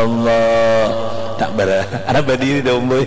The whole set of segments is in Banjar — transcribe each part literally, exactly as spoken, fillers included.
Allah. Tak ber, ada berdiri dong boy.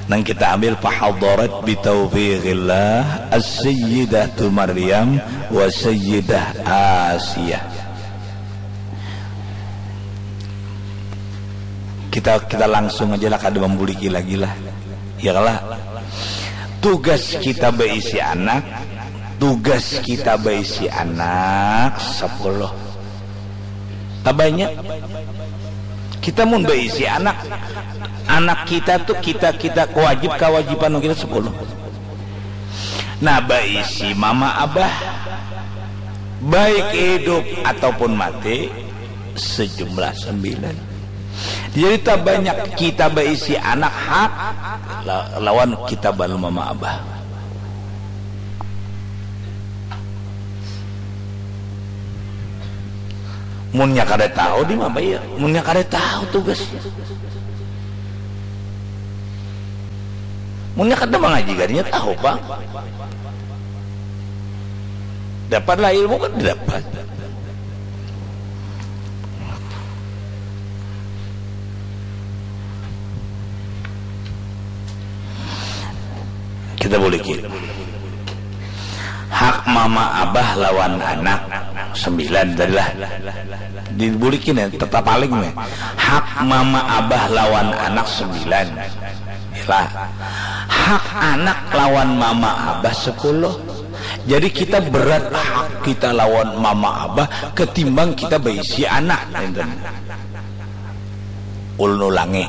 Nang kita ambil, fahadarat bitaufiqillah as-sayyidatu Maryam wa sayyidah Asiyah. Kita kita langsung aja lah, kada membuliki lagi lah. Ya lah. Tugas kita berisi anak, tugas kita berisi anak sepuluh. Tabanya kita mun berisi anak, anak kita tuh kita kita kewajib kewajiban kita sepuluh. Nah, berisi mama abah, baik hidup ataupun mati, sejumlah sembilan. Jadi tak banyak kita berisi anak hak la- lawan kita balu mama abah. Munnya kada tahu di mana ya, munnya kada tahu tugasnya. Munnya kada mengaji gadinya tahu pak. Dapatlah ilmu kan dapat. Kita boleh ki. Hak mama abah lawan anak sembilan tadi lah. Dibulikin ya, tetap paling nih. Hak mama abah lawan anak sembilan. Lah. Hak anak lawan mama abah sepuluh. Jadi kita berat hak kita lawan mama abah ketimbang kita berisi anak. Ulun ulangi.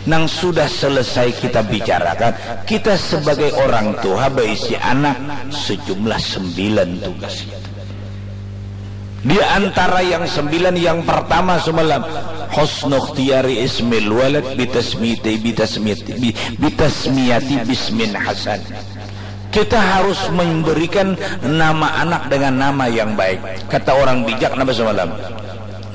Nang sudah selesai kita bicarakan, kita sebagai orang tua berisi anak sejumlah sembilan tugas. Di antara yang sembilan, yang pertama semalam, husnu ikhtiyari ismil walad bitasmiyati, bitasmiyati, bi- bitasmiyati bismin hasan. Kita harus memberikan nama anak dengan nama yang baik. Kata orang bijak nama semalam,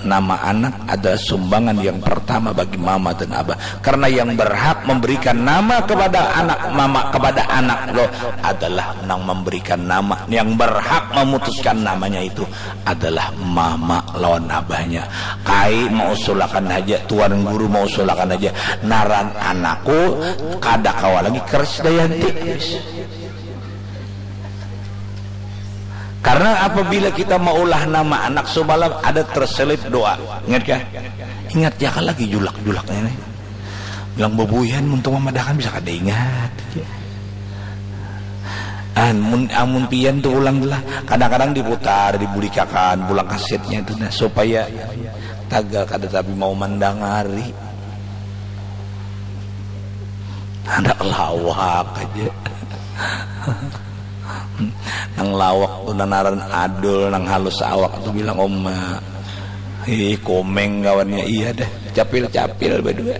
nama anak adalah sumbangan yang pertama bagi mama dan abah. Karena yang berhak memberikan nama kepada anak, mama kepada anak lo adalah nang memberikan nama. Yang berhak memutuskan namanya itu adalah mama lawan abahnya. Kai mausulakan haja, tuan guru mausulakan haja. Naran anakku kada kawa lagi Krisdayanti. Karena apabila kita maulah nama anak semalam ada terselip doa. Ingat kah? Ingat ya kan lagi julak-julaknya nih. Bilang bebuyan untuk memadahkan bisa kada ingat. Amun amun pian tuh ulang lah. Kadang-kadang diputar, dibulikakan, pulang kasetnya itu nah supaya tagal kada tapi mau mandangari. Ada lawak aja. Nang lawak tu nanaran adul, nang halus awak tu bilang oma. Ih, komeng kawannya iya dah. Capil-capil berdua.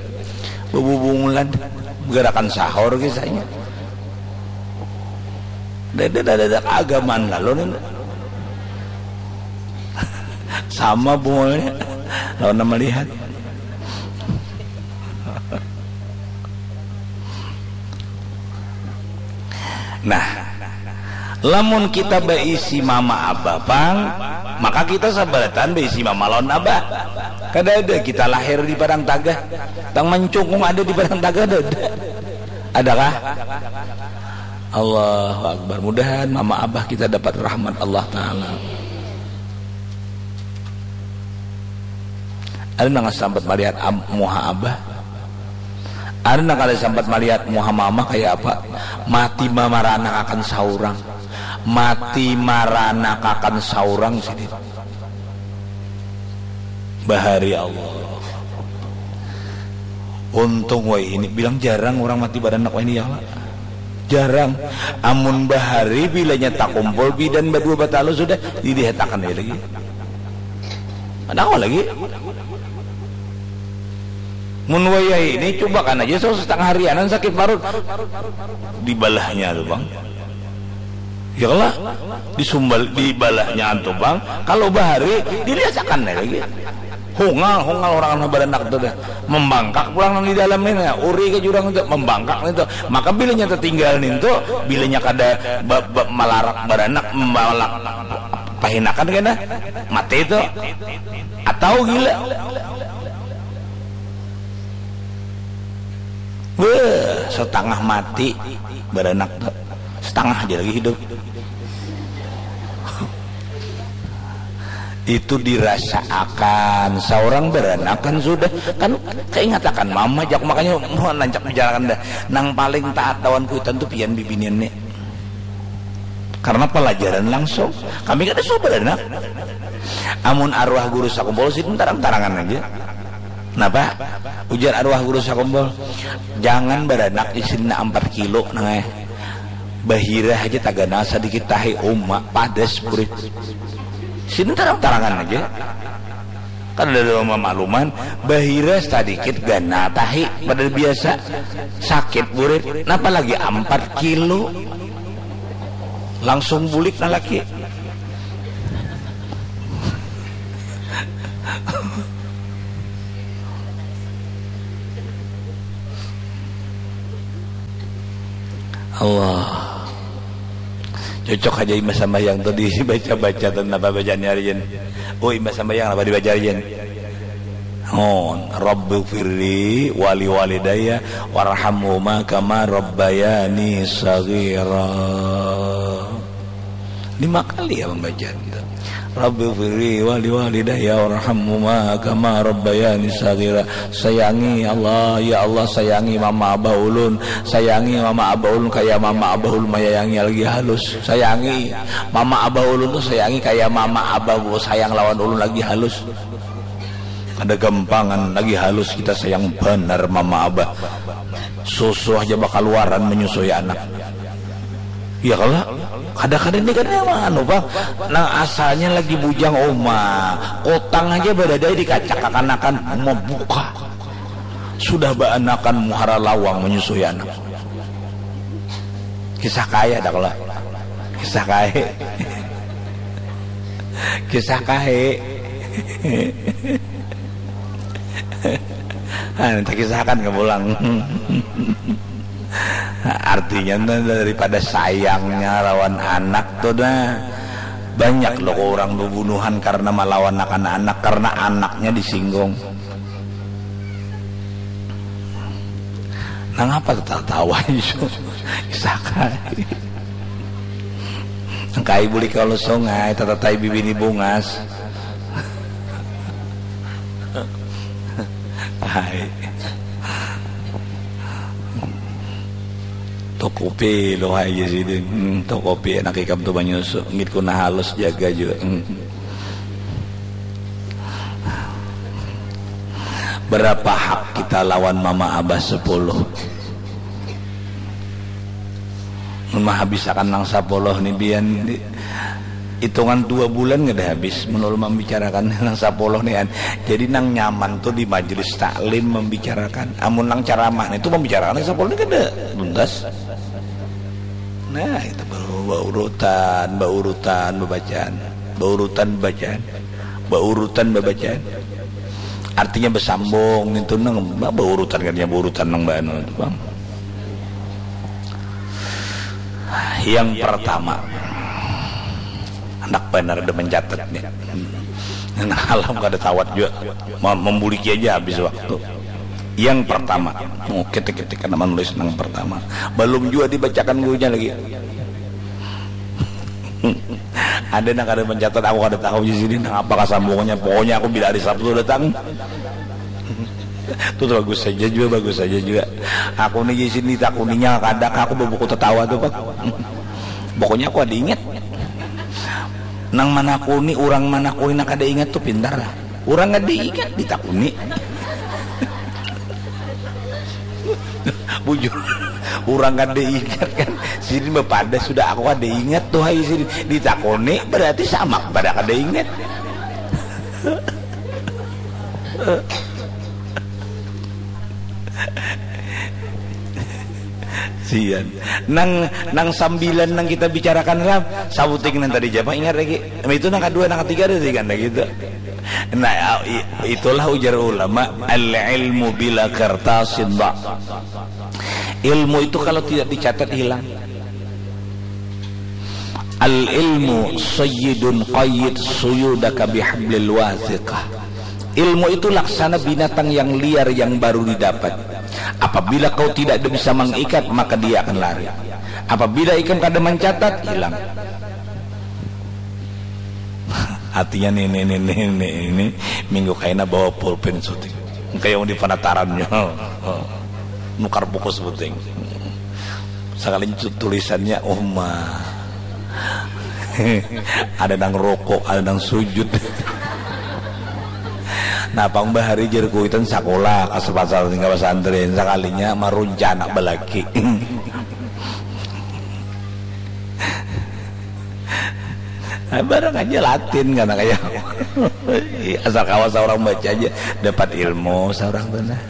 Bebubungulan. Gerakan sahur kisahnya. Dada dada keagamaan lalu nih. Sama bungulnya. Lawan melihat. Nah, lamun kita berisi mama abah pang, maka kita sabaratan berisi mama lawan abah. Kada ada kita lahir di padang tagah, tang mancungkung ada di padang tagah ada. Adakah? Allahu Akbar. Mudahan mama abah kita dapat rahmat Allah Ta'ala. Ada nang sampat melihat muha abah. Ada nang kada sampat melihat muha mama kayak apa. Mati mama ranak akan saurang. Mati maranak akan saurang sini. Bahari Allah. Untung wai ini bilang jarang orang mati baranak wai ini ya Allah. Jarang. Amun bahari bilanya takumpul bidan badua batalu sudah didihatakan ya lagi. Ada lagi. Mun wayah ini cubakan aja so setengah harianan sakit parut. Dibalahnya tuh bang. Ya lah, disumbal dibalahnya antu bang. Kalau bahari diliasakan lagi. Hungal hungal orang anu baranak tu dah. Membangkak pulang nang di dalam ni nah. Uri ke jurang itu membangkak itu. Maka bilanya tertinggal nintu, bilanya kada ba, ba, malarak baranak malak Pahinakan kena mati itu atau gila. Wah, setengah mati beranak tuh, setengah aja lagi hidup. Itu dirasaakan seorang beranak kan sudah, kan kaingatakan mama jak, makanya mau nancak bicarakan dah. Nang paling taat lawan kuitan tuh pian bibinian nih. Karena pelajaran langsung. Kami kada suah beranak. Amun arwah guru sakumpul sidin tarang-tarangan aja. Napa? Ujar arwah guru sakumpul, jangan beranak isinnya ampat kilo nang eh. Bahira aja taganal sadikit tahi uma padas burit. Sidin tarang-tarangan aja. Kan ada dalam makluman, bahira sadikit ganal tahi pada biasa sakit burit, napa lagi ampat kilo. Langsung bulik nah laki. Allah. Cocok aja imbah sambahyang tuh dibaca-baca tuh napa bacaannya Arjen. Oh, imbah sambahyang apa dibaca Arjen? Oh, Rabbi firli wali walidaya warhamhuma kama rabbayani sagira. Lima kali ya pembacaan itu. Rabbi firli wali walidaya warhamhuma kama rabbayani sagira. Sayangi Allah, ya Allah sayangi mama abah ulun. Sayangi mama abah ulun kaya mama abah ulun mayayangi lagi halus. Sayangi mama abah ulun tuh sayangi kaya mama abah bu sayang lawan ulun lagi halus. Kada gampangan lagi halus kita sayang banar mama abah. Susu aja bakaluaran menyusui anak. Ya kalau kada kada ini kan emang anu bang. Nah asalnya lagi bujang oma, kotang aja berada di kaca kakanakan membuka. Sudah baanakan muhara lawang menyusui anak. Kisah kaya dah kalau kisah kaya. Kisah kaya. Nah, kita kisahkan ke pulang. Artinya tuh daripada sayangnya lawan anak tuh dah banyak loh orang bubunuhan karena malawan akan anak karena anaknya disinggung. Nang apa tatawa ijo? Sakai. Nang kai buli kalau sungai tatatai bibini bungas. Hai. Tokopi lo hai ya sidin. Hmm, tokopi anak ikam tu banyusu. Ngit kuna halus jaga juga. Hmm. Berapa hak kita lawan mama abah sepuluh? Mun mahabisakan nang sapuluh ni bian hitungan dua bulan kada habis menurut membicarakan nang sapuluh ni an. Jadi nang nyaman tu di majlis taklim membicarakan. Amun nang ceramah ni tu membicarakan nang sapuluh ni kada tuntas. Nah itu baru baurutan, baurutan bebacaan, baurutan bebacaan, baurutan bebacaan. Artinya bersambung itu nang baurutan katanya baurutan nang banu itu bang. Yang pertama, anak benar ada mencatat nih. Nah, alam kada tawat juga membuliki aja habis waktu. Yang pertama, oh, ketik-ketik kan menulis yang pertama. Belum juga dibacakan gurunya lagi. Ada nang kada mencatat aku kada tahu di sini nang apa kasambungannya. Pokoknya aku bila hari Sabtu datang. Tuh bagus saja juga bagus saja juga. Aku nih di sini takuninya kada aku bebuku tertawa tuh pak. Pokoknya aku ada ingat. Nang manakuni orang manakuni nang kada ingat tuh pintar lah. Orang kada ingat ditakuni. Bujur. Orang kada ingat kan. Sini bepada sudah aku kada ingat tuh hai sini. Ditakuni berarti sama pada kada ingat. Sian. Nang nang sambilan nang kita bicarakan ram sabuting nang tadi japa ingat lagi. Itu nang kedua nang ketiga ada tiga nang gitu. Nah, itulah ujar ulama al ilmu bila kertasin ilmu itu kalau tidak dicatat hilang. Al-ilmu sayyidun qayyid suyudaka bihablil wathiqah. Ilmu itu laksana binatang yang liar yang baru didapat. Apabila kau tidak ada bisa mengikat, maka dia akan lari. Apabila ikam kada mencatat, hilang. Artinya nih, nih, nih, nih, nih, ini minggu kaina bawa pulpen syuting. Kayak di penatarannya. Nukar buku syuting. Sekalinya tu-, tulisannya Uma. Ada nang rokok, ada nang sujud. Nah, pang bahari jar kuitan sakola ka sepasar tinggal pesantren. Sekalinya marunca anak balaki. Nah, barang aja latin karena kayak asal kawa seorang baca aja dapat ilmu seorang tuh nah.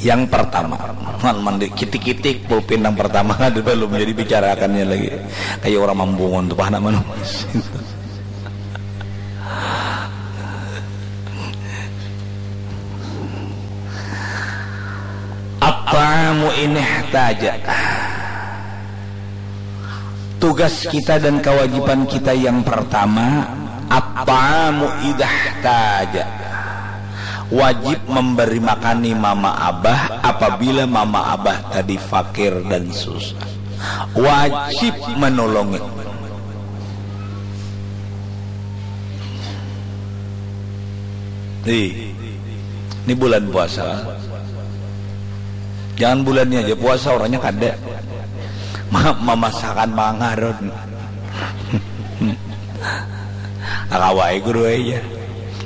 Yang pertama, man mandi kitik-kitik pulpin yang pertama ada belum jadi bicarakannya lagi. Kayak orang mambungun tuh pahana manusia. At-ta'amu in ihtaja. Tugas kita dan kewajiban kita yang pertama, at-ta'amu idahtaja. Wajib memberi makani mama abah apabila mama abah tadi fakir dan susah. Wajib menolongi. Nih, ini bulan puasa. Jangan bulannya aja puasa, orangnya kada. Ma-, memasakan mangaron. Akawai guru aja.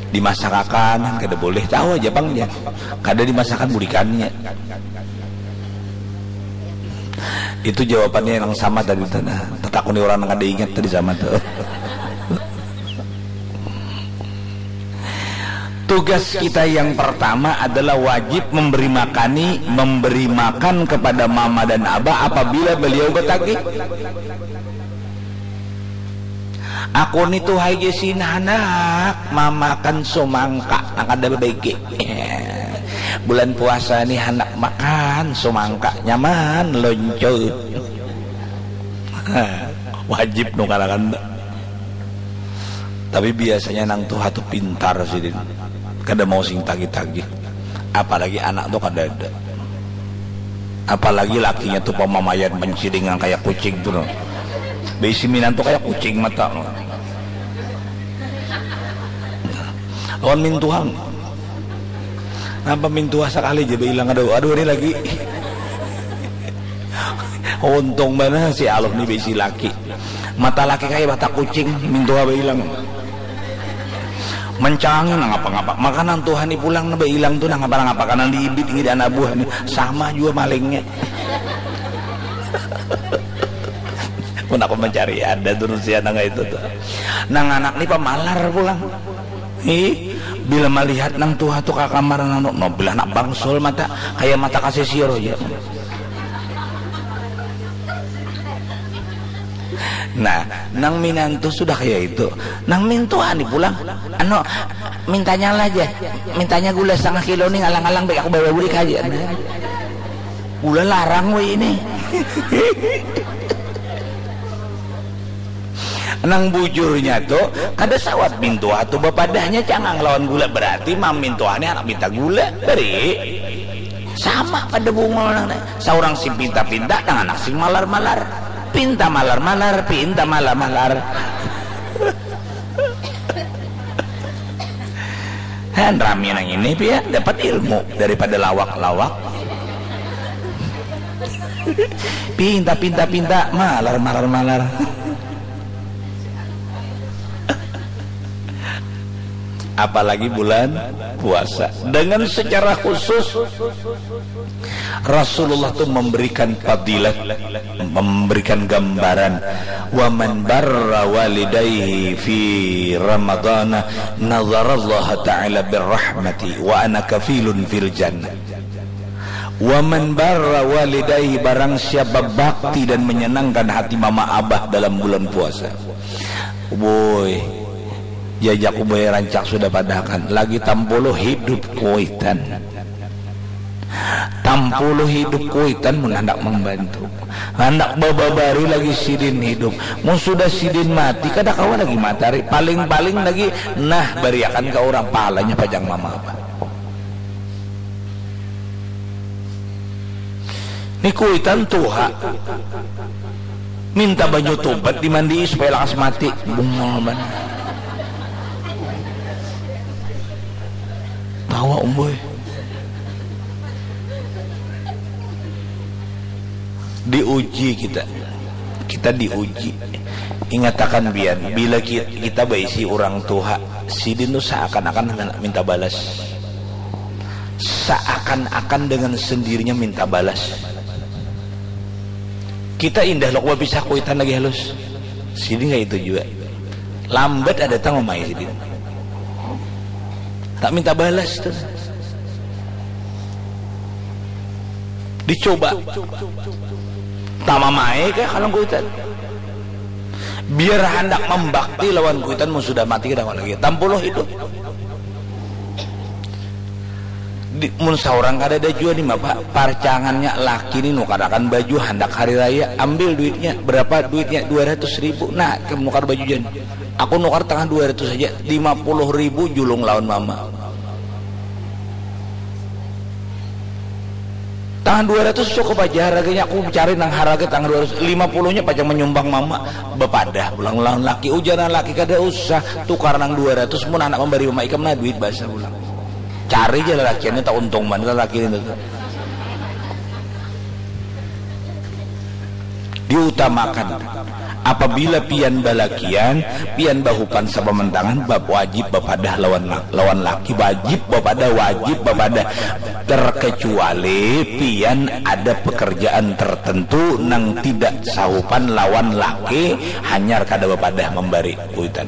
Dimasakakan, kada boleh. Tahu aja pang ya. Kada dimasakan bulikannya. Itu jawabannya yang sama tadi tuh. Nah, tetakuni orang yang ada ingat tadi sama tuh. Tugas kita yang pertama adalah wajib memberi makani, memberi makan kepada mama dan abah apabila beliau bertagih. Aku ni tuh hai gesin anak mamakan sumangka nang kada babaiki. Bulan puasa ni handak makan sumangka nyaman loncut. Wajib nukarakan. Tapi biasanya nang tuha tu pintar sidin, kada mau sing tagih-tagih. Apalagi anak tu kada ada. Apalagi lakinya tu pamamayan mancilingan kaya kucing tu no. Baisi minantu kaya kucing mata no. Lawan mintuhang. Napa mintuha sakali ja bailang, aduh, aduh, ini lagi. Untung banar si Aluh ni baisi laki. Mata laki kaya mata kucing, mintuha bailang. Mancangi nang apa-ngapa. Makanan Tuhan ni pulang na bailang tu nang apa-ngapa. Kanan diibit ngi di anak buah ni. Sama jua malingnya. Mun aku mencari ada tu rusia nang itu tu. Nang anak ni pamalar pulang. Ih, bila malihat nang tuha tu ka kamar nang, no, bila nak bangsul mata, kaya mata kasisir aja. Nah, nang minantu sudah kaya itu. Nang mintuha ni pulang, anu, mintanya lah aja. Mintanya gula setengah kilo ni ngalang-ngalang baik aku bawa bulik aja. Gula larang weh ini. Nang bujurnya tu, kada sawat mintuha tu bapadahnya cangang lawan gula. Berarti mam mintuha ni anak minta gula. Beri. Sama pada bungul nang ni. Saurang sing pinta-pinta, nang anak sing malar-malar. Pinta malar-malar, pinta malar-malar. Han, rami nang ini, pia dapat ilmu daripada lawak-lawak. Pinta, pinta, pinta, malar, malar, malar. Apalagi bulan puasa. Dengan secara khusus, Rasulullah tu memberikan fadilat, memberikan gambaran, "Wa man barra walidayhi fi Ramadana, nazarallahu ta'ala birrahmati, wa ana kafilun fil jannah." "Wa man barra walidayhi," barang siapa bakti dan menyenangkan hati mama abah dalam bulan puasa. Woi, jajaku boy rancak sudah padahakan. Lagi tampulu hidup kuitan. Tampuluh hidup kuitan mun handak mambantu. Handak bababari lagi sidin hidup. Mun sudah sidin mati, kada kawa lagi matari. Paling-paling lagi, nah, bariakan ka urang, pahalanya pajang mama abah. Ni kuitan tuha. Minta banyu tubat dimandii supaya lakas mati. Bungul banar. Tawa, umboy. Diuji kita. Kita diuji. Ingatakan pian, bila ki-, kita baisi urang tuha, sidin tu saakan-akan minta balas. Saakan-akan dengan sendirinya minta balas. Kita indah lo bapisah kuitan lagi halus. Sidin kaya itu jua. Lambat ada datang mamai sidin. Tak minta balas tu. Dicoba. Tak mamai kah kalau kuitan? Biar handak mambakti lawan kuitan, mun sudah mati kada kawa lagi. Tampuluh hidup. Di, mun saurang kadada jua ni, Bapak, parcangannya laki ni nukarakan baju handak hari raya, ambil duitnya, berapa duitnya? Dua ratus ribu. Nah, ikam nukar baju jan. Aku nukar tangah dua ratus saja, lima puluh ribu julung lawan mama. Tangah dua ratus cukup aja harganya, aku cari nang harga tangah dua ratus lima puluh nya pacang manyumbang mama. Bapadah pulang lawan laki, ujar nang laki, kada usah tukar nang dua ratus mun handak mambari mama ikam nah duit basa pulang. Cari ja lalakiannya, tak untung banar laki ini tu. Diutamakan. Apabila pian balakian, pian bahupan sapamantangan, bab wajib bapadah lawan la-, lawan laki, wajib bapadah, wajib bapadah. Terkecuali pian ada pekerjaan tertentu nang tidak sahupan lawan laki, hanyar kada bapadah mambari kuitan.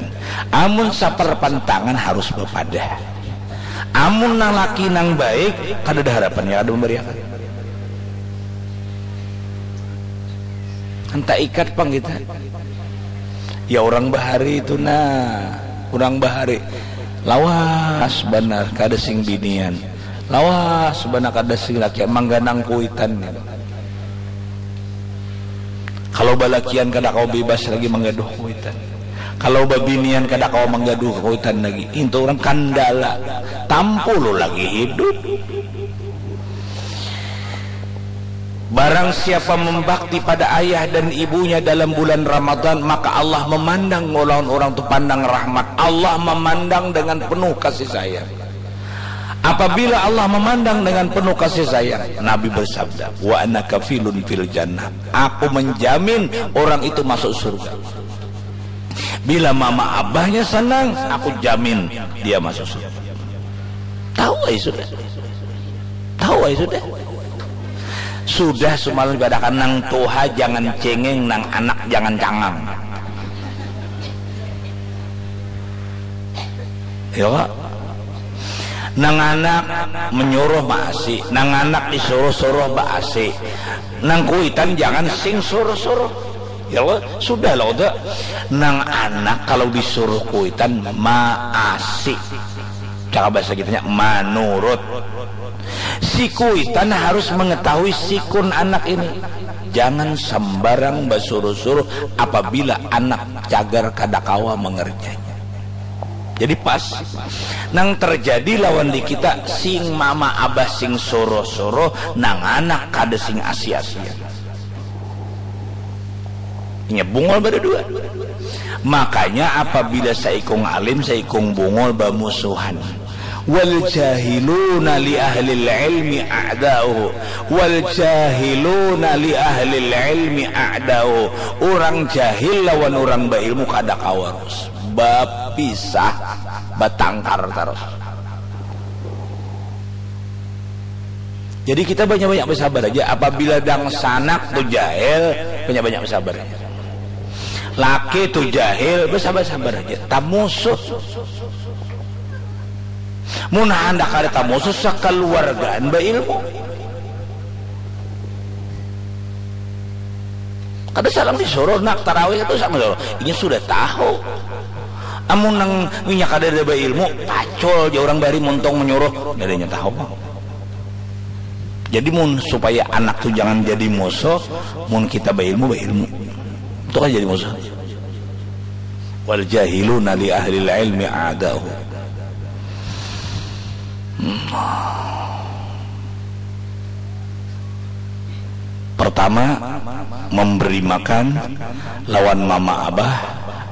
Amun saparpantangan harus bapadah. Amun nang laki nang baik, kadada harapan nya kada mambariakan. Kan taikat pang kita. Ya, urang bahari itu nah, urang bahari lawas banar kada sing binian, lawas banar kada sing lakian, mangganang kuitan. Kalau balakian kada kawa bebas lagi manggaduh kuitan. Kalau babinian kada kawa manggaduh kuitan lagi. Itu urang kandala. Tampulu lagi hidup. Barang siapa membakti pada ayah dan ibunya dalam bulan Ramadan, maka Allah memandang lawan urang tu pandang rahmat. Allah memandang dengan penuh kasih sayang. Apabila Allah memandang dengan penuh kasih sayang, Nabi bersabda, "Wa ana kafilun fil jannah." Aku menjamin orang itu masuk surga. Bila mama abahnya senang, aku jamin dia masuk surga. Tahu ai sudah. Tahu ai sudah. Sudah sumalam dipadahakan, nang tuha jangan cengeng, nang anak jangan cangang. Ya, Pak? Nang anak menyuruh maasi, nang anak disuruh-suruh baasi. Nang kuitan jangan sing suruh-suruh. Ya, Pak? Sudah lah, udah. Nang anak kalau disuruh kuitan maasi. Cakap bahasa kitanya, manurut. Si kuitan harus mengetahui sikun anak ini. Jangan sembarang basuruh-suruh apabila anak cagar kada kawa mengerjanya. Jadi pas nang terjadi lawan di kita, sing mama abah sing suruh-suruh, nang anak kada sing asi-asian. Inya bungul badadua. Makanya apabila saikung alim, saikung bungul bamusuhan. Wal jahiluna li ahlil ilmi a'da'u. Wal jahiluna li ahlil ilmi a'da'u. Urang jahil lawan urang bailmu kada kawa rus. Bapisah, batangkar tarus. Jadi kita banyak-banyak basabar aja. Apabila dangsanak tu jahil, banyak-banyak basabar aja. Laki tu jahil, basabar-sabar aja. Tamusuh. Mun handak kada tamusuh, sakaluargaan bailmu. Kada salah disuruh, nak tarawih itu sama dulu. Inya sudah tahu. Amun nang inya kada ada bailmu, pacul ja urang bari muntung menyuruh, kada inya tahu. Jadi mun supaya anak tu jangan jadi musuh, mun kita bailmu, bailmu. Itu kan jadi musuh. Wal jahiluna li ahlil ilmi a'da'u. Hmm. Pertama, memberi makan lawan mama abah.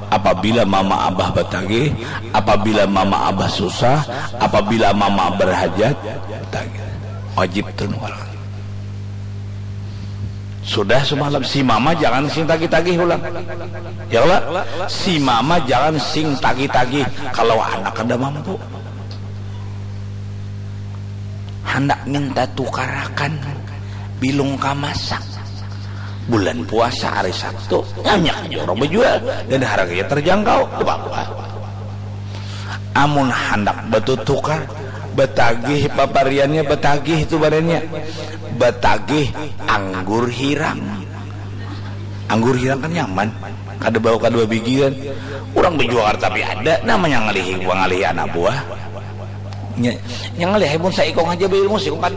Apabila mama abah batagih, apabila mama abah susah, apabila mama berhajat, batagih. Wajib tu nukar. Sudah semalam, si mama jangan sing tagih-tagih ulang. Ya Allah, si mama jangan sing tagih-tagih kalau anak kada mampu. Handak minta tukarakan bilung kamasak. Bulan puasa hari Sabtu, banyak aja orang berjual dan harganya terjangkau. Apa-apa. Amun handak batutukar, batagih papariannya, batagih tu badannya, batagih anggur hirang. Anggur hirang kan nyaman, kada bau, kada babigi kan. Orang berjual tapi ada namanya ngalihi, ngalihi anak buah. Nya, nya ngalihi mun saikung aja beilmu, saikung kada.